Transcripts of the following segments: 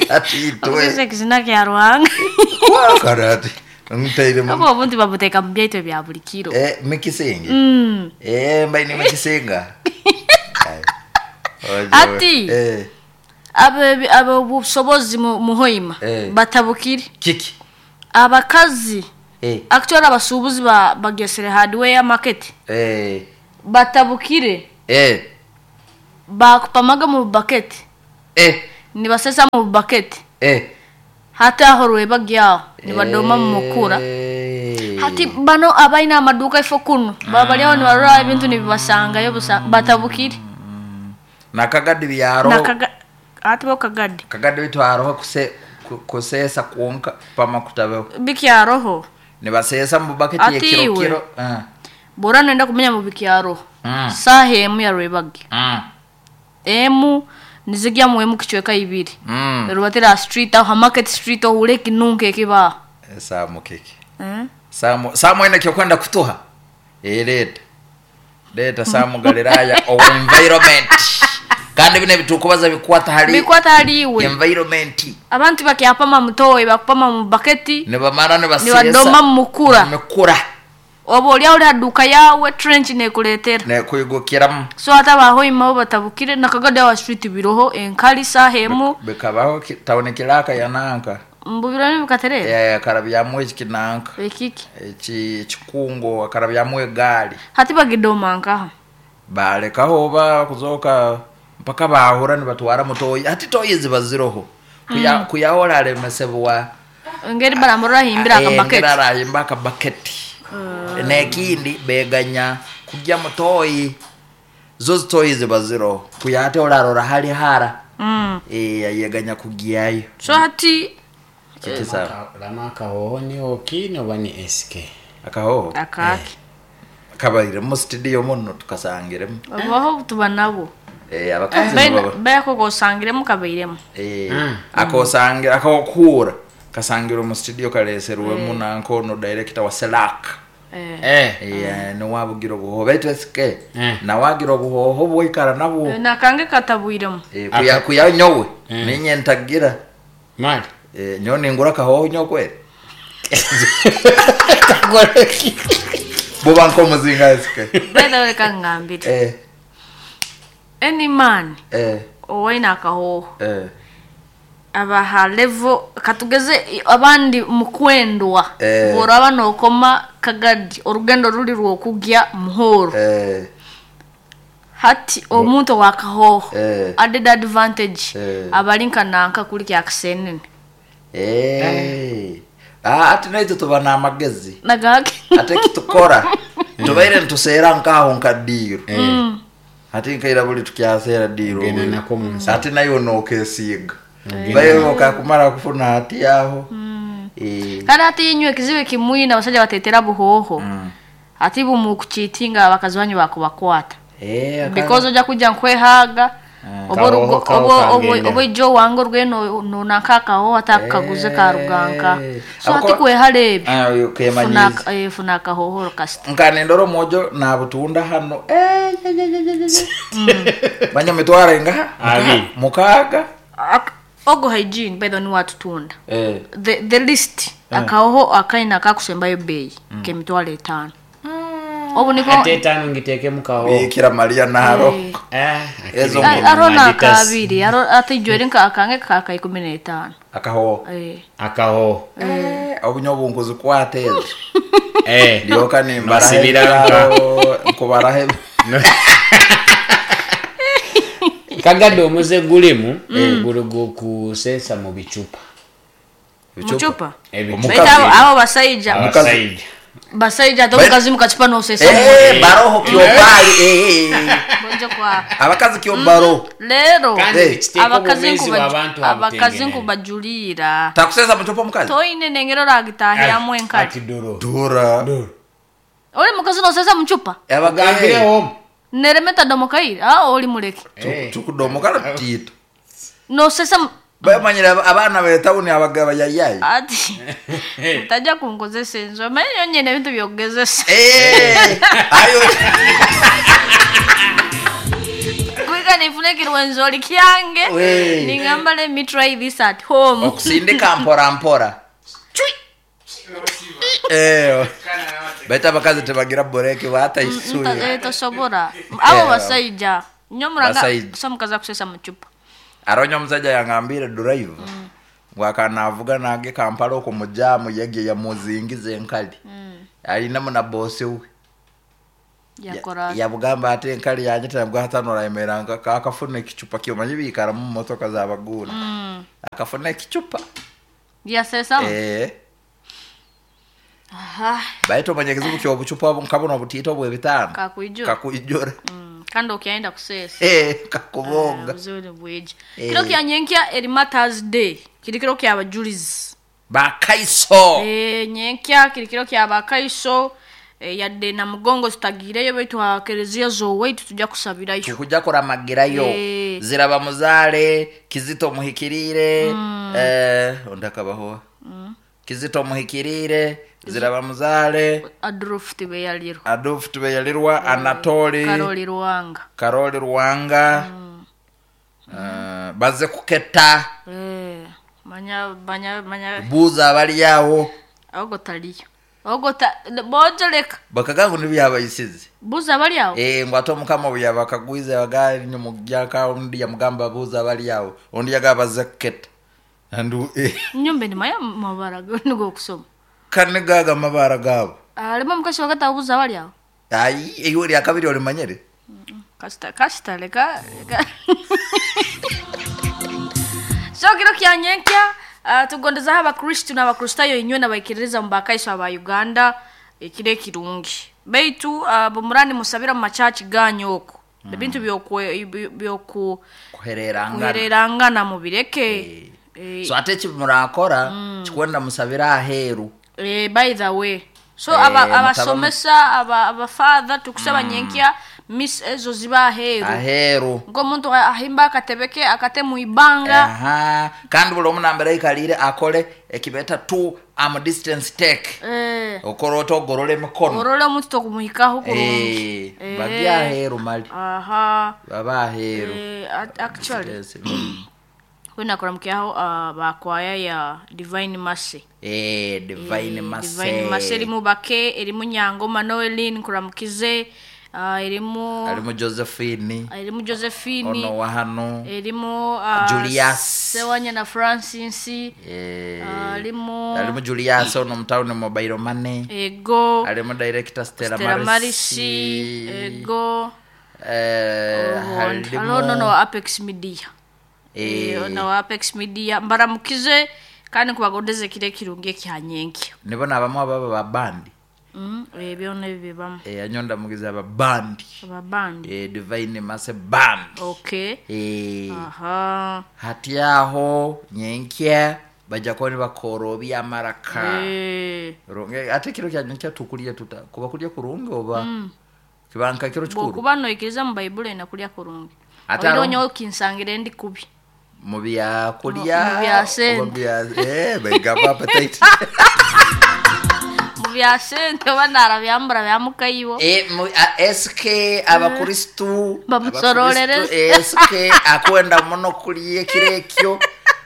Ati itwe Okozesa ekizina kya Ruhanga. Kwakara ati ntairemu Obu obundi babuteeka mu byaitu ebya buri kiro. Eh, mikisingi Eh, mbaine mikisinga Ai. Ojo. Ati. Eh, Abe ab'obusobozi mu mu Hoima Eh. batabukire. kiki Abakazi Eh, actually abasuubuzi ba bagesere hardware market eh, batabukire eh, bakupamaga mu bucket eh, nibasesa mu bucket eh. hati aho rwebagyaho nibadoma mu mukura Eh. hati bano abaine amaduka ifo kunu baba bari aho nibarora ebintu nibibasangayo busa batabukire Nakagadi byaro Nakaga hati bo kagadi kagadi bitu haroho kuse, ku- kusesa kwonka pama kutabeho bikyaroho nibasesa mu bucket Ati ekiro iwe. kiro Ah. bora nenda kumenya mu bikyaroho Mm. saha emu ya rwebagyo Mm. emu nizigyamu emu kicweka ibiri Mm. rubatira street aho ha market street ohure ekinunko ekibaho Samu kiki Eh? Samu Samu ene kyokwenda kutuha Eh, leta leta Samu Galilaya owa environment kandi bino ebitukubaza bikwata hali bikwata hali iwe environment abantu bakyapama mutoyi bakupama mu baketi nibamara nibasesa nibadoma mu mukura mukura oba oli aho ori ha duka yawe trench nekureetera nekwigukiramu so hati abahoima bo batabukire nakagadi awa street biroho enkali saha emu bikabaho ki- tawuni kiraka yananka mbubiro nibikaterera Eh, akarabyamu eki kinanka ekiki eki ekikungo akarabyamu egaali hati bagidoma nkaha balekaho ba kuzoka mpaka bahura nibatwara mutoyi hati toyi ziba ziroho Kuya- kuyahola alemesebwa engeri baramurora ahimbira akabaketi arahimba akabaketi nekindi beganya kugya mutoyi zo zitoyi ziba ziroho kuya hati olarora hali hara Mm. Eh, ayeganya kugyayo so hati Kiki sawa Lama akahoho ni okini oba ni SK? akahoho akaki kabaire mu studio muno tukasangiremu babaho tuba nabo Eh, abakazi nibaba beyako gosangiremu kabairemu Eh, akosangira akokura kasangira mu studio kaleserwemu nankono director wa Selak Eh. Eh. Eh, niwabugira obuhoho baitu esike Mm. nawagira obuhoho bwaikara nabwo nakange katabwiremu Eh, kuya kuya nyowe ninye ntagira Mali. Eh, nyowe ningura akahoho nyowe kweli buba nkomuzinga esike betha reka ngambire eh any man eh owaine akahoho eh abaha level katugeze abandi mukwendwa Eh. boraba nokoma kagadi orugendo ruri rwokugya muhoro eh hati omuntu owakahoho Eh. added advantage Eh. abali nka nanka kuri kyakisenene eh ah ati naitwe tuba n'amagezi nagake ate kitukora tubaire nituseera nkaho nka diiro ati nkaira buli tukyaseera diiro Ogenda nako mu nsawo. ati nayo nokesiiga bayo okakumara kufuna ati aho Eh, kandi hati inywe ekizibu ekimwine abasajja batetera buhoho hati bumukuchitinga abakazi banyu bakubakwata eh, because ojja kujja nkwehaga oba Kahoho orugo- kaho oba- oba- kangenda. oba ijo wange orweno nonanka akahoho atakaguze karuganka so hati Ako- kwehara ebyo Ah, oyo kemanyiize. Funa- eh, funa akahoho kasita nkanendora omwojo nabutunda hano Eh, ye, ye, ye, ye, ye. manya mitwaro ingaha Abi. mukaaga Ak- ogo hygiene by the way niwatutunda Eh, the list akahoho akaina akakusembayo beyi kemitwaro etaano obu niko Ate etaano ngiteeke mu kahoho. bikira mariya naro Eh, Ezo akiri mu- aro Adidas. nakabiri aro ate ijweri nka akange kaka 15 akahoho eh Akahoho. Eh, obunyo obunkuzikwata ezo Eh. ndyoka nimbaraho Nosibira nka. ebiraro, nkubaraho ebi- Kagadde omuze gulimu guli gukuseesa mu bicupa. muchupa Ebicupa. Baita abo abo basaija Abasajja. basaija ate Bai- omukazi mukachupa nosesa Eh, baroho kyobali eh, eh. bonje kwa abakazi kyobaro lero Kandi Eh. kiteeka abakazi obwomeezi bw'abantu abakazi abutengenere. nkubajulira takusesa muchupa omukazi toine nengero ragitahyamu enkali Ati doro. dura oli mukazi nosesa muchupa Ogambireho. neremeta domokaire ah oli muleke Eh. tukudomokala tutito nosesa mu- bamanyire abaana betawuni abagaba yayayi ati utajja kunkozesa enzo omanyi yonyene ebintu byokugezesa Eh, ayo Kuiga Leka nifune ekirwenzori kyange. Wee. Ningamba let me try this at home. Okusindika mpora mpora. Eh, baitu abakazi tebagira bureki bataisuye. Tosobora. Abo basaija. Nyo muranga Basaija. so mukazi akusesa mu cupa. Aronya omusajja yangambire drive ngu akanavuga nage Kampala okwo mu jaamu yegye yamuzingiza enkali alinamu na bosi we. Yakora. Yabugamba ate enkali yanje tambwa hatano rayemeranga kakafuna ekicupa kyomanyi biikara mu motoka z'abaguuna akafuna ekicupa. Yasesa. Eh, Aha. baitu omanya ekizibu ky'obucupa obu nka buno obutiito bw'ebitaano. Kakwijura. Kakwijura. Kandi okyayenda kusesa. Eh, kakubonga. Obuzibu bwija. Eh. Kiro kya nyenkya eri Matters Day. Kiri kiro kya bajulizi. Bakaiso. Eh, nyenkya kiri kiro kya bakaiso. Yadde na mugongo tutagireyo baitu ha kereziya z'owaitu tujja kusabirayo. Tukujja kuramagirayo. Eh. Ziraba muzaale Kizito muhikiriire. Eh, ondi akabaho Kizito muhikiriire, Ziraba muzaale, Adolf Tibeyalirwa. Adolf Tibeyalirwa, Anatoli Karoli Ruwanga. Karoli Ruwanga. Eh, baze kuketa. Eh, manya manya manya Buuza abali awo. Ogo taliyo. Ogo ta bojo leka. Bakaga ngu nibyabayisize. Buuza abali awo. Eh, ngu ate omukama obu yabakagwize bagali nyumujjaka ondi yamugamba buuza abali awo ondi yagamba baze kuketa. Andu Nyumba ni maya mabara nigo okusoma. kane gaga amabara gaabo. Alimu omukazi wakati abuuza abali awo. Ayi iwe lya kabiri olimanyire. Kasita kasita leka leka. So kiro kya nyenkya tugondezaho abakristu n'abakristayo inywe n'abaikiririza mu bakaiso aba Uganda ekiro ekirungi. Baitu bumurani musabira mu machachi ganyu okwo. Ebintu byoku kuhererangana. kuhererangana mubireke. So ate eki murakora kikwenda musabira aheeru. By the way. So Eh, abasomesa abafather tukusaba nyenkya miss ezo ziba aheeru. Aheeru. Ng'omuntu ahimba akatebe ke akate mu ibanga. Aha. Kandi buli omu nambere aikalire akole ekibeeta 2 arm distance take. Eh. Okora ota ogorora emikono. Orole omuntu tokumuhikaho kurungi. Eh, bagi aheeru mali. Aha. Baba aheeru. Actually Yes. Wena kuramukyaho bakwaya ya Divine Mercy. Eh, Divine Mercy. Divine Mercy erimu Bake, erimu Nyangoma Noeline nkuramukize, erimu Alimu Josephine. Erimu Josephine. Ono wa hano. Erimu Julius. Sewanya na Francis. Eh. Alimu Alimu Julius ono mutawuni mobile money. Ego. Alimu director Stella, Stella Marisi. Marisi. Ego. Eh, Halimu Halo no Apex Media. Eh. No Apex Media mbaramukize kandi kubagondeze kire kirungi ekyanyenkya. Nibo nabamu ababa ba bandi. Ebyo nebibamu. Eh, anyonda mugize aba bandi. Aba bandi. Eh, Divine Mercy Band. Okay. Eh. Aha. Hati aho nyenkya bajja kuba nibakorobya amaraka. Eh. Runge ate kiro kya nyenkya tukulya tuta kuba kulya kurungi oba kibanka kiro kikuru. Bwokuba noikiriza mu Baibuli ena kulya kurungi. Ate Oiro aro- nyowe kinsangire ndi kubi. Mu bya kulya, Mu bya sente. oba bya, baigamba appetite. Mu bya sente oba narabyambura byamukaibo. Eh, mu, a, SK abakristu, Bamusororere. abakristu, SK akwenda muno kulya ekiro ekyo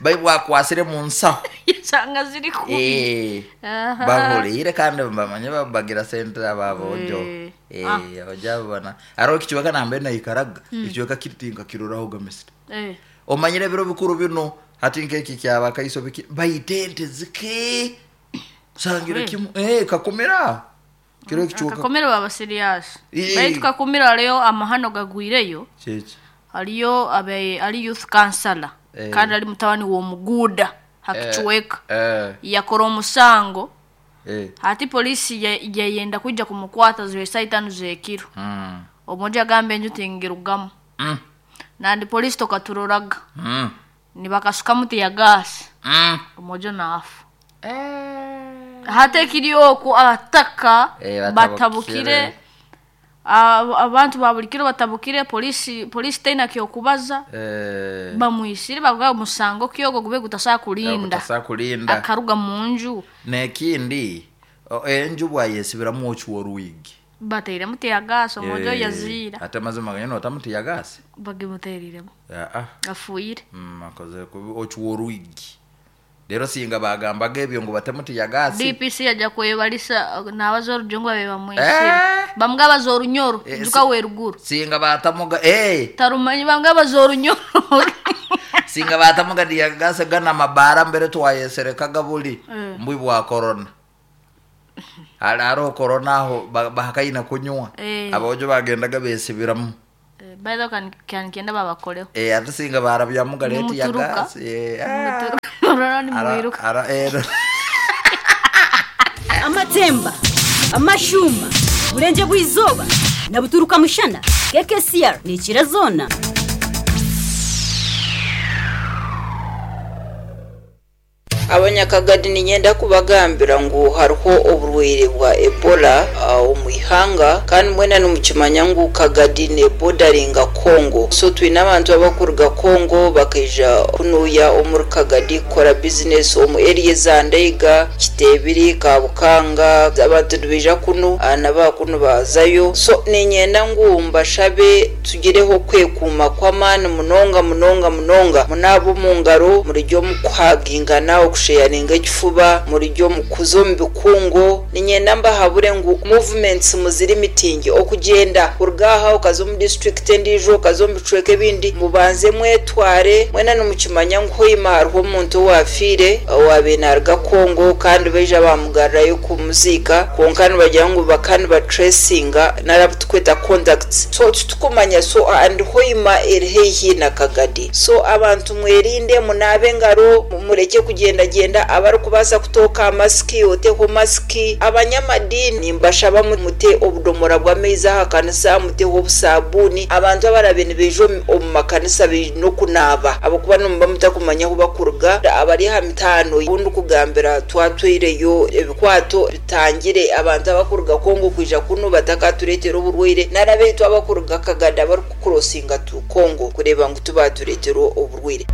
Baibuli akwasire mu nsaho. Yasanga ziri kubi. Eh, Aha. bahuliire kandi bamanye babagira sente ababojo. Eh. Eh, abaja babona. Aro ekichweka nambe naikaraga, ekichweka kiritinka kiroraho gamisita. Eh. Omanyire ebiro bikuru bino hati nk'eki kyabakaiso biki baita ente zike sangira kimu kakumira kiro ekichweka. Kakomera baba serious. Eh. Baitu kakumira leo amahano gagwireyo. Kyeki. Haliyo abe ali youth counselor. Eh. Kandi ali mutabani w'omuguuda hakichweka. Eh. Yakora omusango. Eh. Hati polisi yayenda kuija kumukwata ziwe saa itano z'ekiro. Omoja agamba enju tingirugamu. Nandi polisi tokaturoraga. Nibakasukamu tear gas. Omoja naafa. Hati ekiri okwo abataka Eh, batabukire. batabukire. Abantu ba buli kiro batabukire, polisi teina kyokubaza. Eh. Bamwisire bavuga omusango kyogo gube gutasobola kulinda. Gutasobola kulinda. Akaruga mu nju. N'ekindi, enju bwayesibiramu okiwa oruigi. Batairemu teargas omwojo Eh, yaziira. Ate amazima ganyine notamu teargas? Bagimuteeriremu. Aa. Afuire. Akozire kubi ocwa orwigi. Reero singa baagambaga ebyo ngu batemu teargas. DPC yaija kwebarisa naabaza orujungu babaire bamwitsire. Eh! Bamwe abaza orunyoro, Eh, ijuka weruguru. Singa baatamuga eh! Tarumanyi bamwe abaza orunyoro. Singa baatamuga teargas ganu amabaara mbere twayeserekaga buri mbwi bwa corona. Hare hariho corona aho bahakaine kunywa. Eh. Aboojo bagendaga besibiramu. Eh, by the way kan kanikyenda babakoreho. Eh, ate singa barabyamu gare Nimuturuka. teargas. Eh, ah. Nimuturuka. Orora Ara nimwiruka. ara eh. Amatemba, amashuuma, Burengyerwa bw'eizooba na buturuka mushana, KKCR neekira zoona. Abanyakagadi niinyenda kubagambira ngu hariho oburwaire bwa Ebola omu ihanga kandi mwena nimukimanya ngu Kagadi neebodaringa Congo. So twine abantu abakuruga Congo bakaija kunuuya omuri Kagadi kukora bizinesi omu eriya eza Ndaiga, Kiteebiri, Kabukanga. Abantu nibaija kunu na baakunu baazayo. So niinyenda ngu mbashabe tugireho okwekuuma kw'amaani munonga munonga munonga. Munaabe omu ngaro, murugye omu kuhagingana, okusheyaringa ekifuba, murugye omu kuza omu bikungu. Niinyenda mbahabure ngu movements muzirimitinge, okugyenda kuruga aha okaza omu disiturikiti endiijo, okaza omu bicweka ebindi, mubanze mwetware. Mwena nimukimanya ngu Hoima hariho omuntu owaafiire owaabaire naaruga Congo kandi baija baamugarurayo kumuziika kwonka nibagira ngu bakaba nibatracinga nari abu turikweta contacts so titukumanya so and Hoima eri haihi na Kagadi so abantu mwerinde munaabe engaro murekye kugyendagyenda abarikubaasa kutooka aha masiki oteho masiki abanyamadiini nimbashaba mute obudomora bw'amaizi aha kanisa muteho obusabuuni abantu abarabe nibaija omu makanisa baine okunaaba ahabw'okuba nimuba mutakumanya ahu bakuruga abari aha mitaano obu ndikugambira twatwaireyo ebikwato bitangire abantu abakuruga Congo kwija kunu batakatureetera oburwaire nari abaitu abakuruga Kagadi abarikukurosinga to Congo kureeba ngu tibaatureetera oburwaire.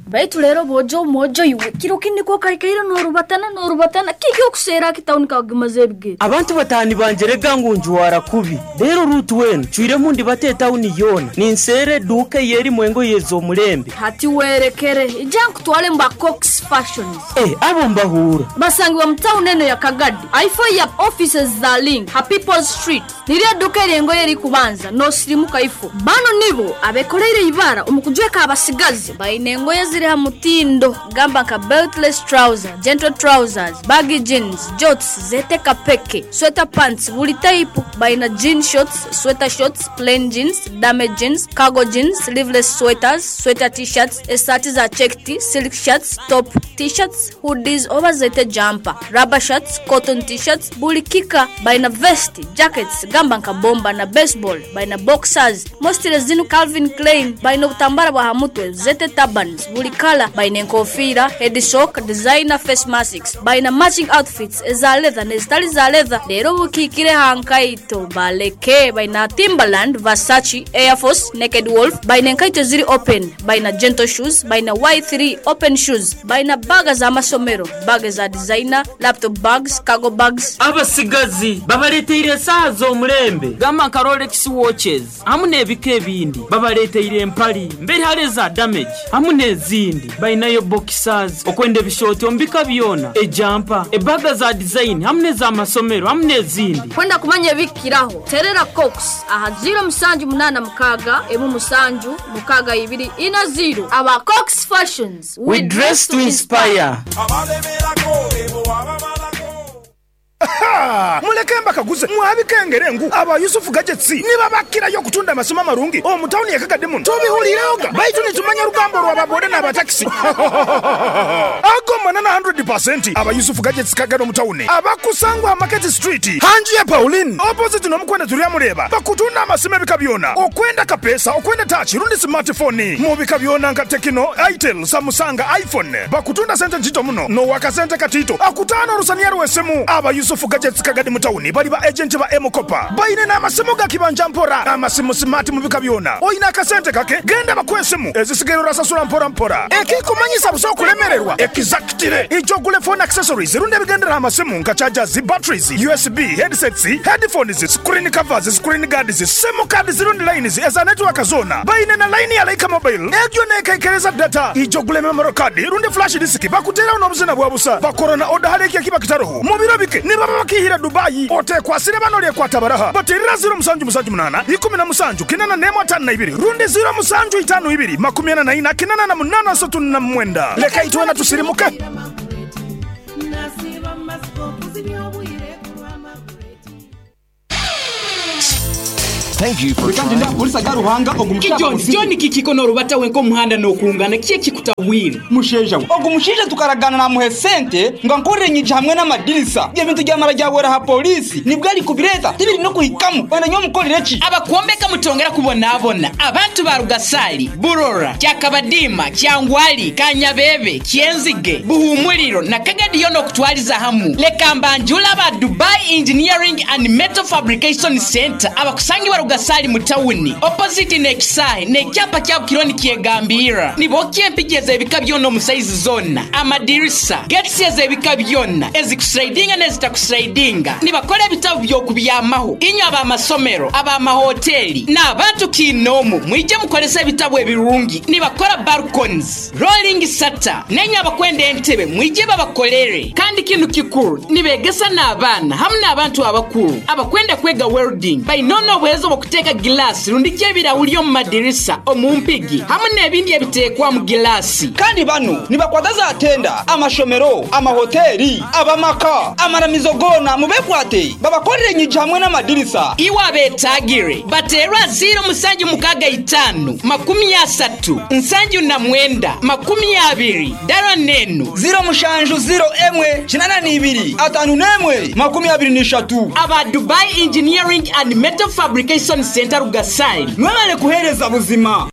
Baitu reero boojo mwojo iwe, kiro kindi ku okaikaire noorubatana noorubatana, kiki okuseera aki tauni kakugimaza ebigere? Abantu bataani bangye rega ngu njwara kubi. Reero Ruth weena ncwiremu ndibate etauni yoona, ninseera eduuka ey'erimu engoye ez'omulembe. Hati werekere, ija nkutware omu ba Cox Fashions. Eh, abo mbahuura. Basangibwa mu tauni eno ya Kagadi, ahaifo ya offices za Link ha People's Street. Niryo eduuka ery'engoye erikubanza noosirimuka ifo. Banu nibo abekoreire eibara omu kujweka abasigazi. Baine engoye eziri ha mutindo gamba nka beltless trouser, gentle trousers, baggy jeans, jorts, zeete kapeke, sweater pants buri taipu. Baine jean shorts, sweater shorts, plain jeans, damage jeans, cargo jeans, sleeveless sweaters, sweater t-shirts, esaati za checked, silk shirts, top t-shirts, hoodies oba zeete jumper, rubber shirts, cotton t-shirts, buri kika. Baine vest, jackets gamba nka bomba na baseball, baine boxers, mostly zinu Calvin Klein, baine obutambara bwa ha mutwe, zeete turbans, buri kala, baine enkofiira, head sock, designer face masks, baine matching outfits eza leather n'ezitari za leather. Reero obukiikire aha nkaito baleke, baine Timberland, Versace, Air Force, Naked Wolf, baine enkaito eziri open, baine gentle shoes, baine Y3 open shoes, baine baaga z'amasomero, baaga eza designer, laptop bags, cargo bags. Abatsigazi babareeteire esaaha z'omurembe gamba nka Rolex watches hamu n'ebika ebindi. Babareeteire empari mberi hare eza damage hamu n'ezindi. Bainayo boxers, okwenda ebishooti omu bika byona, ejampa, ebaga za design hamu n'ez'amasomero hamu n'ezindi. Kwenda kumanya ebikukiraho, teerera Cox aha ziiro mushanju munaana mukaaga, emwe mushanju, mukaaga ibiri, ina ziiro. Aba Cox Fashions, We dress to inspire. Muleke mbakaguze mwabikengere ngu aba Yusuf Gadgets nibabakirayo okutunda amasimu amarungi omu tawuni ye Kagadi muno. Tubihuliirehoga baitu nitumanya orugambo rwa ba boda n'aba takisi. Ago manana hundred pasenti. Aba Yusuf Gadgets Kagadi omu tawuni abakusangwa aha Market Street hanju ya Pauline opposite n'omukwenda Turyamureeba bakutunda amasimu ebika byona okwenda kapeesa, okwenda touch rundi smart phone mu bika byona nka Tecno, Itel, Samusanga, iPhone. Bakutunda sente ntito muno n'owakasente katito akutaana orusaniya rw'esimu. Aba Yusuf Gadgets Kagadi mu tawuni bali ba agenti ba M-Kopa. Baine n'amasimu ga kibanja mpora, amasimu smart mu bika byona. Oine akasente kake, genda bakuhe esimu ezisigaire orasasura mpora mpora. Ekikumanyisa busa okulemererwa. Exactly. Exactly! Ija ogule phone accessories rundi ebigendera aha masimu nka chargers, batteries, USB, headsets, headphones, screen covers, screen guards, sim cards rundi lines eza network zoona. Baine na line ya Lyca Mobile egyo neekaikereza data. Ija ogule memory card rundi flash disk bakuteeraho n'obuzina bwa busa. Bakora na oda hare eki ekiba kitaroho. Mu biro bike nibaba bakiihire Dubai. Oteekwasire bano oryekwata baraha. Bateerera 0778 17 81 52 rundi 0752 44 88 39. Leka itwena tusirimuke. Ki John, John kikiko norubata wenka omuhanda nokungana kiki ekikutabwire? Musheija we, ogu mushaija tukaragaana namuha esente ngu ankorere enyigi hamwe n'amadirisa. Ebyo bintu byamara byahwera aha pooriisi nibwo arikubireeta tibiri n'okuhikamu. Wenda nyowe mukorere ki? Abakwombeka mutongera kubonabona. Abantu ba Rugasari, Burora, Kyakabadiima, Kyangwali, Kanyabebe, Kyenzige, Buhumuriro na Kagadi yoona okutwariza hamu. Leka mbanjure aba Dubai Engineering and Metal Fabrication Centre abakusangibwa Rugasari mu tawuni opposite n'ekisaahe n'ekyapa kyabo kiriho nikyegambirra. Nibokya empigi ez'ebika byona omu saizi zoona, amadirisa, gates ez'ebika byona, ezikusilaidinga n'ezitakusilaidinga. Nibakora ebitabu by'okubyamaho. Inywe ab'amasomero, ab'amahoteeri n'abantu kiinoomu mwije mukorese ebitabu ebirungi. Nibakora balconies, rolling shutter n'enywe abakwenda entebe mwije babakorere. Kandi kinu kikuru nibegesa n'abaana hamu n'abantu abakuru abakwenda kwega welding. Baine n'obuheereza obw'okuteeka gilaasi rundi ki ebirahuri omu madirisa, omu mpigi hamu n'ebindi ebiteekwa omu gilaasi. Kandi banu nibakwata za tenda, amashomero, amahoteeri, ab'amaka, amaramizo goona mubekwate babakorere enyigi hamwe n'amadirisa. Iwe abeetaagire bateerwa ziiro musanju mukaaga itaano 30 79 20 dara n'enu. Ziiro mushanju ziiro emwe 82 51 23. Aba Dubai Engineering and Metal Fabrication Centre Rugasari. Mwebale kuheereza buzima.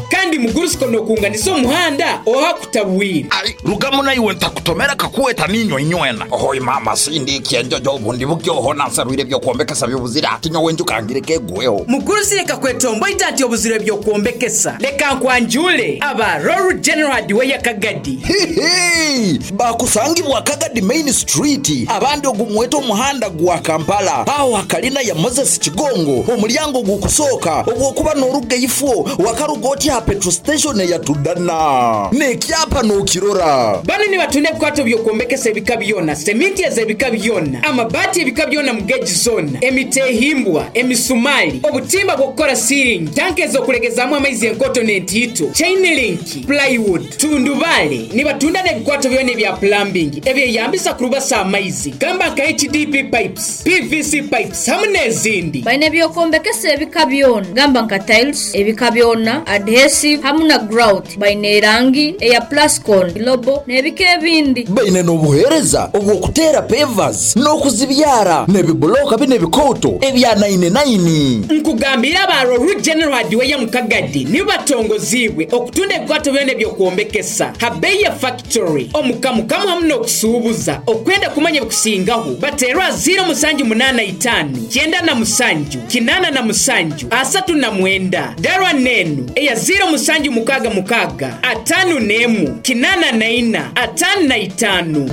Kandi mugurusiko nokunganisa omuhanda oha kutabwire. Ai, rugamu naiwe ntakutomera kakuweta ninyo inywena. Ohoi mama sindi kyenjojo obundi bukyoho nansarwire byokwombekesa byobuzira ati nyowe njukangire kegweho. Mugurusi leka kwetomboita ati obuzire byokwombekesa. Leka nkwanjule aba Royal General Hardware Kagadi. Hihi! Bakusangibwa Kagadi Main Street abandi ogumweta omuhanda gwa Kampala aho hakalina ya Moses Kigongo omulyango gukusooka obwokuba noruga ifo wakaruga oti ha petrol station eya Tudana nekyapa nokirora. Banu nibatunda ebikwato byokwombekesa ebika byona, seminti ez'ebika byona, amabaati ebika byona mu geji zona, emitehimbwa, emisumali, obutimba bw'okukora ceiling, tanka ez'okulegezamu amaizi enkoto n'entiito, chain link, plywood, tundubale. Nibatunda n'ebikwato byona ebya plumbing ebyeyambisa kurubasa amaizi gamba nka HDP pipes, PVC pipes hamu n'ezindi. Baine ebyokwombekesa ebika byona gamba nka tiles ebika byona, adhesive hamu na grout. Baine erangi eya plascon, global n'ebika ebindi. Baine n'obuheereza obw'okuteera pavers n'okuzibyara n'ebibuloka binu ebikooto ebya naini naini. Nkugambire aba Roru General Hardware mu Kagadi nibo batongoziibwe okutunda ebikwato byona eby'okwombekesa ha beeyi ya factory, omukamukamu hamu n'okusuubuza. Okwenda kumanya ebikusingaho bateerwe aha ziiro musanju munaana itaano 97 87 39. Darwa n'enu eya ziiro musanju mukaaga mukaaga 51 84 55.